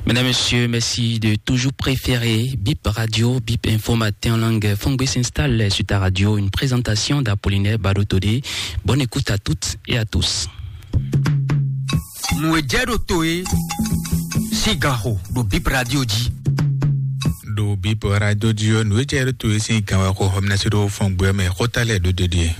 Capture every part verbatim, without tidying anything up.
Mesdames, Messieurs, merci de toujours préférer Bip Radio, Bip Info Matin en langue. Fongbe s'installe sur ta radio. Une présentation d'Apollinaire Badotodé. Bonne écoute à toutes et à tous. Nǔ e jɛ ɖo to e sín ganxo ɖo Bip Radio jí. Ɖo Bip Radio jí ɔ́, nǔ e jɛ ɖo to e sín gan wɛ xo xɔmínásí ɖo fɔngbɛ mɛ xóta lɛ́ɛ ɖo ɖeɖe.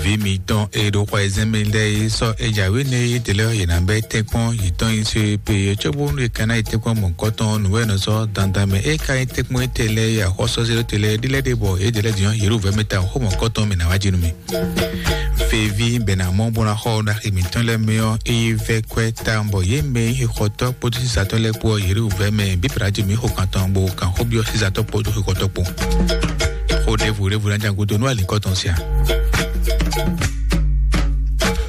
Vǐ mǐtɔn e ɖo xɔ e zɛ́n mɛ lɛ́ɛ é sɔ́ é jǎwe nɛ é dě lɛ́ɛ yě ná bɛ́ tɛ́nkpɔ́n yětɔn nyi só é pe é cóbónú è ka ná yi tɛ́nkpɔ́n mɔ̌hunkɔtɔn nǔwɛ́nɔ sɔ́ dandan mɛ é ka nyí tɛ́nkpɔ́n étɛ́ lɛ́ɛ é axɔ́sɔ́ zé ɖó te lɛ́ɛ ɖi lɛ́ɛ ɖe bɔ é dě lɛ́ɛ din ɔ́ yě ɖo vɛ̌ mɛ tawun xó mɔ̌hunkɔtɔn mɛ ná wá jí nú mì. Feví bɛ̌ ná mɔ bó ná xɔ ɖaxi mǐtɔn lɛ́ɛ mɛ ɔ́, é yi vɛ́ kwɛ́ tawun bɔ yě mɛ e xɔtɔ́ kpódó sisatɔ́ lɛ́ɛ kpó ɔ́, yě ɖo vɛ̌ mɛ bíblá jí mǐ xo kan tɔn bó kan xó byɔ́ sisatɔ́ kpódó xixɔtɔ́ kpó. Xó ɖěvo ɖěvo ná jɛ gúdo nú alǐkɔ tɔn sia.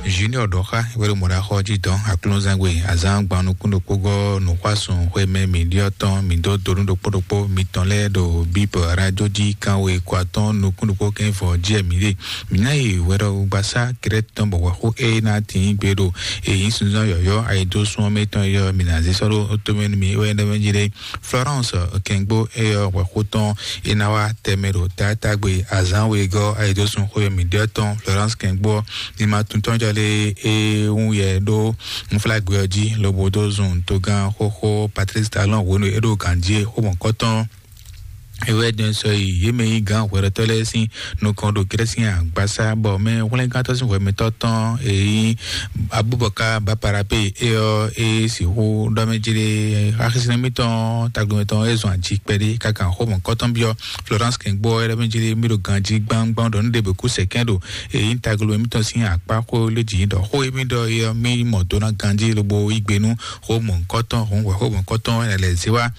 Junior ɖɔ xá wɛ ɖo mɔ̌ ɖo axɔ jí dɔn aklúnzangbe azán gban nukún ɖokpó gɔ́ nǔxwásùn xwé mɛ mǐ ɖyɔ́ tɔn mǐ dó donu ɖokpó ɖokpó mitɔn lɛ́ɛ ɖo bíp radio jí kánwe kɔ atɔ́ɔ́n nukún ɖokpó kɛ́n vɔ jí wɛ mǐ ɖe. Mǐ ná yi hwɛɖɔgbasá Krɛ́t tɔn bɔ hwɛxó e ná tín gbe ɖo èyí sunzán yɔ̌yɔ́ ayidósún ɔ́ mɛ tɔn yɔ mǐ ná zé sɔ́ ɖó tomɛ nú mì é wɛ é ɖɔ mɛ jí ɖé. Florence Kɛngbó e yɔ hwɛxó tɔn é ná wá tɛmɛ ɖo taátagbe azǎn wegɔ́ ayidósún xó e mǐ ɖyɔ́ tɔn Florence Kɛngbó ɔ́, ní ma tún tɔn jɔ lé é wún yɛ ɖó unflágbé ɔ́ jí lobo dó zun togán xóxó Patrice Talon hwenu e é ɖo gǎn jí é xó mɔ̌kɔtɔn. É wɛ dɛn sɔ yi yě mɛ yí gǎn hwɛɖɔtɔ́ lɛ́ɛ sín nukɔn ɖo Grɛ́si agbasá bɔ mɛ hwlɛ́ngántɔ́ sín hwɛmɛtɔ́ tɔn e nyí Abubakar Baparape é ɔ́ é sixú ɖɔ mɛ jí ɖé. Axisínɔ mítɔn tagbomɛ tɔn é zɔn ají kpɛɖé káká xó mɔ̌kɔtɔn byɔ́ Florence Kɛngbó é ɖɔ mɛ jí ɖé mí ɖo ganjí gbámgbám ɖɔ nú ɖěbǔ kú sɛkɛ́ ɖo e nyí taglomɛ mítɔn sín akpá xó lé jǐ ɖɔ xó e mí ɖɔ é ɔ́ mí mɔ do ná ganjí lobo yí gbe nú xó mɔ̌kɔtɔn hǔn hwɛ xó mɔ̌kɔtɔn é lɛ́ zé wá.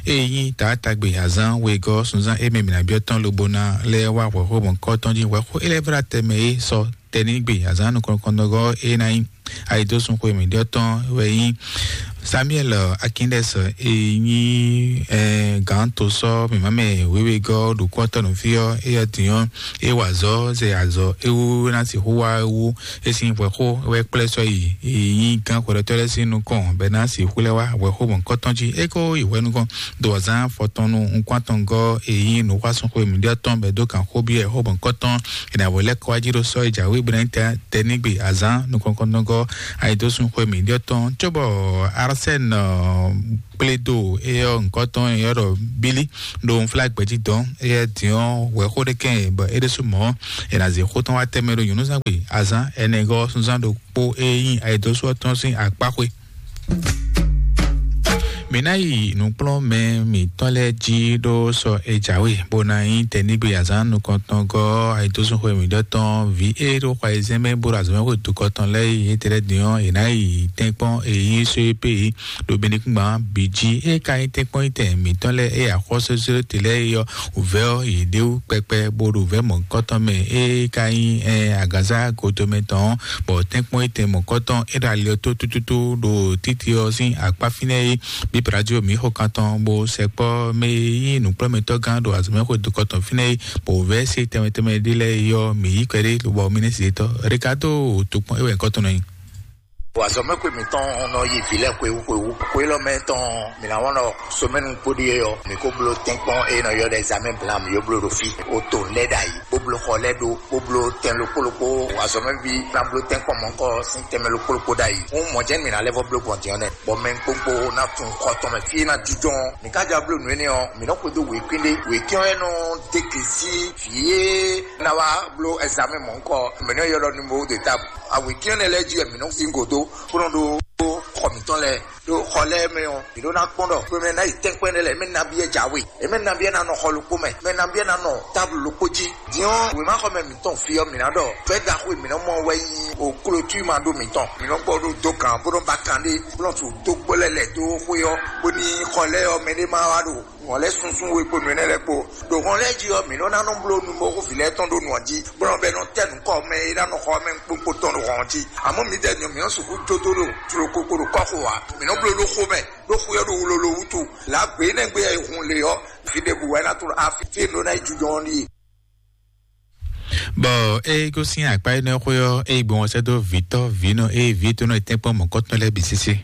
Eye nyí taátagbe azán wegɔ́ sunzán émɛ mǐ ná byɔ́ tɔn lobo ná lɛ́ wá hwɛ̌xó mɔ̌kɔtɔn jí hwɛ̌xó é lɛ́ vlá tɛmɛ é sɔ tɛnigbe azán nukɔn nukɔntɔngɔ́ é ná nyí ayidósun xwe mǐ ɖyɔ́ tɔn wɛ nyí Samuel Akindɛs e nyí gǎn to sɔ́ mǐmá mɛ wěwegɔ́ ɖokpɔ́tɔ́ nǔfí ɔ́ é ɔ́ din ɔ́ é wa azɔ̌ zɛ azɔ̌ é wú ná sixú wá é wú é sín hwɛ̌xó wɛ kplɛ́ sɔ́ yi e nyí gǎn xwɛɖɔtɔ́ lɛ́ɛ sín nukɔn bɔ é ná sixú lɛ́ wá hwɛ̌xó mɔ̌kɔtɔn jí é ko yi hwɛ nukɔn. Ɖo azǎn afɔtɔn nú nukúntɔngɔ́ e nyí nǔxwásúnxwe mǐɖyɔ́tɔn bɔ é dó kan xó byɔ́ ɛ xó mɔ̌kɔtɔn è nǎ wǒ lɛ́ kɔ wá jí ɖó sɔ́ e jǎwe bó ná nyí tɛnigbe azǎn nukɔntɔngɔ́ ayidósúnxwe mǐɖyɔ́tɔn cóbɔ Arsène Kplédo é ɔ́ nukɔntɔn é ɔ́ ɖɔ bílí ɖo unflágbɛjí dɔn é yɛ din ɔ́ hwɛ̌xó ɖé kɛn bɔ é ɖésú mɔ̌ è nǎ zě xó tɔn wá tɛmɛ ɖo nyɔ̌núzán gbe azǎn ɛnɛgɔ́ sunzán ɖokpó e nyí ayidósú ɔ́ tɔn sín akpáxwé. Mǐ ná yi nǔkplɔ́nmɛ mǐtɔn lɛ́ɛ jí ɖó sɔ e jǎwe bó ná nyí tɛnigbe azǎn nukɔntɔngɔ́ ayidósúnxwe mǐɖɔtɔn vǐ e ɖo xɔ ayizɛ́n mɛ bó ɖo azɔ̌mɛxwe dukɔtɔn lɛ́ɛ yi étɛ́ lɛ́ɛ din ɔ́, è nǎ yi tɛ́nkpɔ́n e nyí só e pé yi ɖo benukúngban bǐ jí. É ka nyí tɛ́nkpɔ́n yi tɛn mǐtɔn lɛ́ɛ e axɔ́súzúɖóte lɛ́ɛ é ɔ́, wǔvɛ́ ɔ́, yě ɖe wú kpɛkpɛ bó ɖo vɛ̌ mɔ̌hunkɔtɔn mɛ. É ka nyí ɛ agǎnzá godomɛ tɔn ɔ́, bɔ tɛ́nkpɔ́n yi tɛn mɔ̌hunkɔtɔn é ɖo ali ɔ́ tó tútútú ɖo títí ɔ́ sín akpá fínɛ́ é. Bíblá jí mǐ xo kan tɔn bó sɛkpɔ́ mɛ e nyí nǔkplɔ́mɛtɔ́ gán ɖo azɔ̌mɛxwé dukɔtɔn fínɛ́ é, bɔ wǔvɛ́ sé tɛnmɛ tɛnmɛ ɖé lɛ́ɛ é ɔ́, mǐ yí kpɛɖé lobɔ mǐ nɛ́ zě tɔ́. Rekato tokpɔn é wɛ nyǐkɔ tɔn nɔ nyí. Azɔ̌mɛxwé mǐtɔn nɔ yi vǐ lɛ́ɛ xwewú xwewú. Xwe élɔ́ mɛ tɔn mǐ ná wɔn ɖɔ somɛnu kpóɖí é ɔ́, mǐ ko bló tɛ́nkpɔ́n e nɔ ylɔ́ ɖɔ examen blanc mǐ yó bló ɖo fí. O to lɛ́ ɖ'ayǐ, bó bló xɔ lɛ́ ɖó, bó bló tɛn ɖokpó ɖokpó. Azɔ̌mɛví ná bló tɛ́nkpɔ́n mɔ̌hunkɔ sín tɛnmɛ ɖokpó ɖokpó ɖ'ayǐ. Hǔn mɔ̌ jɛ́n mǐ ná lɛ́ vɔ bló gbɔn din ɔ́ nɛ́, bɔ mɛ kpokpo ná tunwun xɔ tɔn mɛ fí e ná jínjɔ́n ɔ́. Mǐ ka ja bló nǔ énɛ́ ɔ́, mǐ nɔ́ xwedó wěkwín ɖé. Wěkwín ɔ́ wɛ nɔ dó gbe sí vǐ e ná wá bló examen mɔ̌hunkɔ, mǐ nɔ́ ylɔ́ ɖɔ numéro de table. Awěkwín énɛ́ lɛ́ɛ jí wɛ mǐ nɔ́ sín gǒ dó, bó nɔ́ ɖó xɔ mǐtɔn lɛ́ɛ. Ɖo xɔ lɛ́ɛ mɛ ɔ́, mǐ ɖó ná kpɔ́n ɖɔ xwe mɛ ná yi tɛ́nkpɛ́ énɛ́ lɛ́ɛ, mɛ nabí wɛ jǎwe, mɛ nabí wɛ ná nɔ xɔ ɖokpó mɛ, mɛ nabí wɛ ná nɔ táblu ɖokpó jí. Din ɔ́, wěmaxɔmɛ mǐtɔn fí ɔ́, mǐ ná ɖɔ fɛ́ ɖaxó e mǐ nɔ́ mɔ wɛ nyí o klotúma ɖó mǐtɔn. Mǐ nɔ́ gbɔ ɖó dó kan bó nɔ́ ba kan ɖé, bó nɔ́ su dó gbó lɛ́ lɛ̌ dó xwé ɔ́, bóní xɔ lɛ́ɛ ɔ́, mɛ ɖé má wá ɖo hɔn lɛ́ sunsún we kpo nǔ énɛ́ lɛ́ɛ kpo. Ɖo hɔn lɛ́ɛ jí ɔ́, mǐ nɔ́ ná nɔ bló numɔxó vǐ lɛ́ɛ tɔn ɖó nǔ ɔ́ jí, bó nɔ́ bɛ́ nɔ tɛ́ nǔ kɔ mɛ e ná nɔ xɔ mɛ kpókpó tɔn ɖo hɔn ɔ́ jí. Amɔ̌ mǐdɛɛ nyɔ mǐ nɔ́ sixú jó dó ɖo tlokoko ɖo kɔ́xo ǎ. Mǐ nɔ́ bló ɖó xó mɛ, ɖó xwé ɔ́ ɖo wlolo wútu. Lǎ gbě énɛ́ gbe e hun le ɔ́, fí ɖěbǔ wɛ é ná tló afi fí e nǔ ɖó ná yi jujɔ ɔ́ ɖíe. Bɔ eye gosín akpa énɛ́ xwé ɔ́, eye gbɔn ɔ́ sɛ́ dó vǐtɔ́ vǐnɔ eye vǐ tɔn nɔ tɛ́nkpɔ́n mɔ̌kɔtɔn lɛ́ɛ bǐ sésé.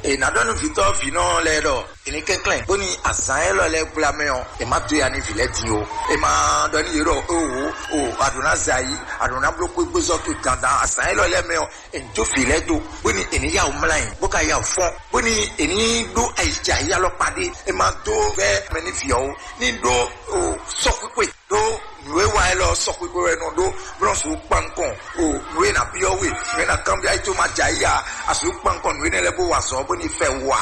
È nǎ ɖɔ nú vǐtɔ́ vǐnɔ lɛ́ɛ ɖɔ è ní kɛnklɛ́n bóni azǎn élɔ́ lɛ́ɛ gbla mɛ ɔ́, è má dó ya nú vǐ lɛ́ɛ din ó. È má ɖɔ nú yě ɖɔ: "Oho, o, a ɖǒ ná zɛ ayǐ, a ɖǒ ná bló xwégbézɔ́ towe dandan azǎn élɔ́ lɛ́ɛ mɛ ɔ́, è ní dó vǐ lɛ́ɛ dó, bóni è ní yá wǔ mlá yǐ, bó ka yá wǔ fɔ́n, bóni è ní ɖó ayǐjǎyí alɔkpa ɖé. È má dó vɛ́ mɛ nú vǐ ɔ́ ó, ní ɖó o sɔ́xwíxwe ɖó nǔ e wa élɔ́ sɔxwixwe wɛ nɔ ɖó blɔ́ sǔ kpankɔn o nǔ e ná byɔ́ we, nǔ e ná kanbyɔ́ ayí tó ma jɛ ayí a, a sǔ kpankɔn nǔ énɛ́ lɛ́ɛ bó wa azɔ̌ bó ní fɛ wa."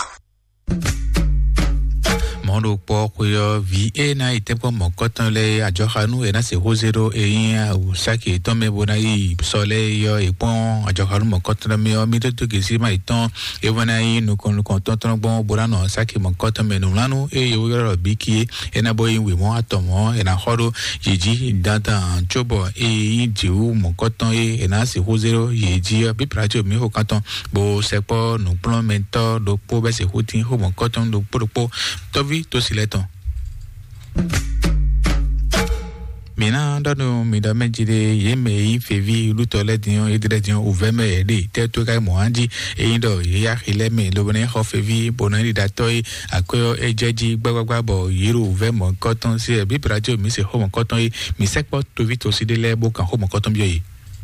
Mɔ̌ ɖo kpɔ́ xwe ɔ́, vǐ e ná yi tɛ́nkpɔ́n mɔ̌kɔtɔn lɛ́ɛ ajɔxanú e ná se xózé ɖó e nyí awǔsáki yětɔn mɛ bó ná yi sɔ lɛ́ɛ é ɔ́, è kpɔ́n ajɔxanú mɔ̌kɔtɔn mɛ ɔ́, mì dó dó gěsí ma yětɔn é wɛ ná nyí nukɔn nukɔntɔn tɔn gbɔn bó ná nɔ sáki mɔ̌kɔtɔn mɛ nǔmlánú e yě wó ylɔ́ ɖɔ bíkí é. É ná bó nyí wěmɔ́ atɔn mɔ̌ è nǎ xɔ ɖó yě jí dandan, cóbɔ eye nyí jǐwú mɔ̌kɔtɔn e è nǎ sixú zé ɖó yě jí ɔ́, bíblá jí omi xo kántɔn, bó sɛkpɔ́ nǔkplɔ́nmɛtɔ́ ɖokpó bɛ́ sixú tín xó mɔ̌kɔtɔn ɖokpó ɖokpó tɔ́ví tósi lɛ́ɛ tɔn. Mǐ ná ɖɔ nú mi ɖɔ mɛ jí ɖé, yě mɛ e nyí feví lútɔ lɛ́ɛ din ɔ́, yě ɖe lɛ́ɛ din ɔ́, wǔvɛ́ mɛ yě ɖe tɛ́ tó ká mɔ̌ á jí. Ényí ɖɔ yě yá xi lɛ́ɛ mɛ lobo ná yi xɔ feví bó ná yi ɖiɖatɔ́ é, akwɛ́ ɔ́ é jɛ jí gbágbágbá bɔ yě ɖo wǔvɛ́ mɔ̌kɔtɔn sí wɛ. Bíblá jí mǐ se xó mɔ̌kɔtɔn é, mǐ sɛkpɔ́ toví tosí ɖé lɛ́ɛ bó kan xó mɔ̌kɔtɔn byɔ́ yě.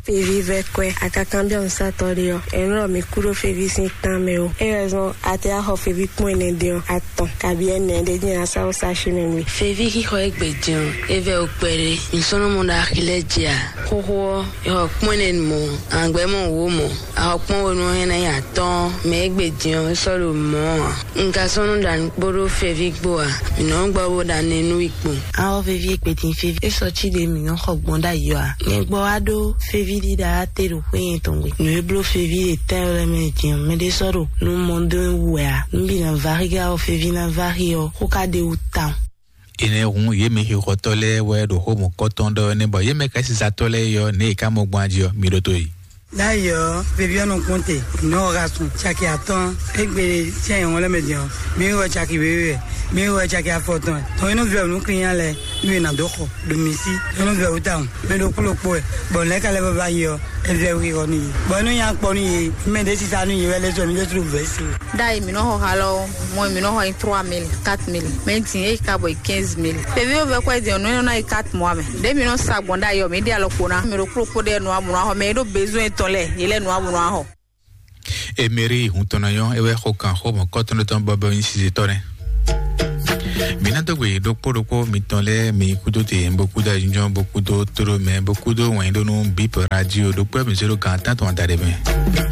Feví vɛ́ kwɛ́, a ka kanbyɔ́ nǔsatɔ́ ɖé ɔ́, è nɔ ɖɔ mǐ kú ɖó feví sín tán mɛ ó. É wɛ zɔ́n a tɛ wá xɔ feví kpɔ́n ɛnɛ din ɔ́, atɔn kabi ɛnɛ ɖé jɛ́n a sá wó sá xí mɛ nú we. Feví xixɔ e gbe din ɔ́, é vɛ́ wú kpɛɖé. Mǐ sɔ́ nɔ mɔ ɖo axi lɛ́ɛ jí a? Xóxó ɔ́, è xɔ kpɔ́n ɛnɛ mɔ, àgbɛ́ mɔ wǒ mɔ, a xɔ kpɔ́n we nú ɔ́, é ná nyí atɔ́ɔ́n, mɛ e gbe din ɔ́, é sɔ́ ɖo mɔ̌ ǎ. Un ka sɔ́ nɔ ɖa nǔ kpódó feví kpó ǎ. Mǐ nɔ gbɔ bó ɖa nɛ nú we kpó. A xɔ feví e gbe din feví, é sɔ cí ɖě mǐ nɔ xɔ gbɔn ɖ'ayǐ ɔ́ ǎ. Nyɛ gbɔ wá ɖó feví ɖíɖá te ɖo xwé nyɛ tɔn gbe. Nǔ e bló feví ɖe tɛ́ lɛ́ɛ mɛ din ɔ́, mɛɖé sɔ́ ɖo nú mɔ dó wú wɛ ǎ. Nú bǐ ná vá xí ká ɔ́, feví ná vá xí ɔ́, xó ká ɖe wú tawun. Énɛ́ hǔn yě mɛ xixɔtɔ́ lɛ́ɛ wɛ ɖo xó mɔ̌kɔtɔn ɖɔ énɛ́ bɔ yě mɛ kɛ́sizatɔ́ lɛ́ɛ yɔ ně e ká mɔ gbɔn ají ɔ́, mi ɖótó yi. Láyé ɔ́, feví ɔ́ nɔ kpɔ́n te, nǔ ɔ́ ha sun caki atɔ́ɔ́n, égbé sɛ́n nyɔ̌ŋɔ́ lɛ́ɛ mɛ din ɔ́, mi wɛ caki wěwe wɛ, mi wɛ caki afɔtɔn wɛ. Tɔn e nɔ vɛ nǔ klinya lɛ́ɛ, nú è nǎ dó xɔ ɖo mǐ sí, é nɔ vɛ wǔ tawun, mɛ ɖokpó ɖokpó wɛ, bɔ nǔ lɛ́ɛ ka lɛ́ vɔ va yi ɔ́, é vɛ wú xixɔ nú yě. Bɔ é nɔ nya kpɔ nú yě, mɛ ɖě sisa nú yě wɛ lɛ́ sɔ mǐ ɖésú ɖo vɛ̌ se. Ɖ'ayǐ mǐ nɔ xɔ xa lɔ, mɔ mǐ nɔ xɔ nyi trois mille, quatre mille, mɛ din é yi ka bɔ yi quinze mille. Ɖevi wo vɛ kwɛ din ɔ́, nǔ e nɔ ná yi quatre mois mɛ. Ɖě mǐ nɔ sa gbɔn ɖ'ayǐ ɔ́, mǐ ɖe alɔ kpo ná. Mǐ ɖo kplɔ́kpó ɖé nǔ amú nɔ xɔ, mɛ e ɖo besoin tɔn lɛ́ɛ, yě lɛ́ nǔ amú nɔ xɔ. Emery hun tɔn nɔ nyɔ́, é wɛ xo kan xó mɔ̌kɔtɔn ɖé tɔn bɔbɔ nyi sisitɔ nɛ́. Mǐ ná dó gbe ɖokpó ɖokpó mitɔn lɛ́ɛ, mi kúdó te, bó kúdó ayǐjínjɔ́n, bó kúdó tóɖó mɛ, bó kúdó wɛ̌nyíɖó nú Bip Radio ɖokpó mi zéro kan tán tɔn adaɖé mɛ.